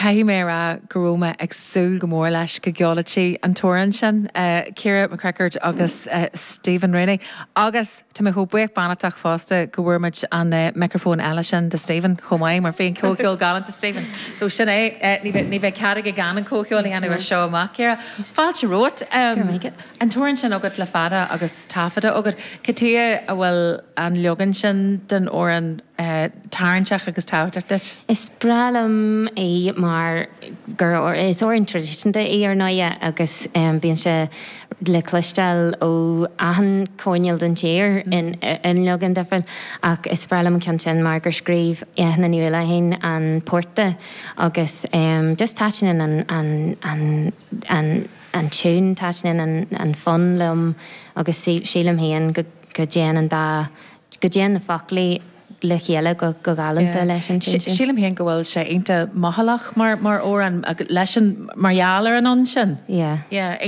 Caithfidh mé a rá go raibh mé ag súil go mór leis go gceolfadh sí an t-amhrán sin, Ciara McCrickard agus Stephen Rooney. Agus tá mé chomh buíoch beannachtach fosta go bhfuair muid an micreafón eile sin do Stephen chomh maith mar bhí an comhcheol galánta Stephen. So sin é, ní bheidh, ní bheidh cead aige gan an comhcheol a dhéanamh as seo amach, Ciara. Fáilte romhat. An t-amhrán sin agat le fada agus taifeadta agat. Cad chuige a bhfuil an leagan sin den amhrán tarraingteach agus tábhachtach duit? Is breá liom í mar gur is amhrán traidisiúnta í ar ndóighe agus bíonn sé le cloisteáil ó achan choirnéal den tír in leagan difriúil ach is breá liom an ceann sin mar gur scríobh Eithne Ní Uallacháin an port de agus just taitníonn an an an an an tiún, taitníonn an an fonn liom agus sílim féin go go dtéann an dá go dtéann na foclaí le chéile go galánta leis an tune sin. Sílim féin go bhfuil sé iontach mothálach mar mar amhrán leis an mar gheall ar an fhonn sin. Yeah. Yeah.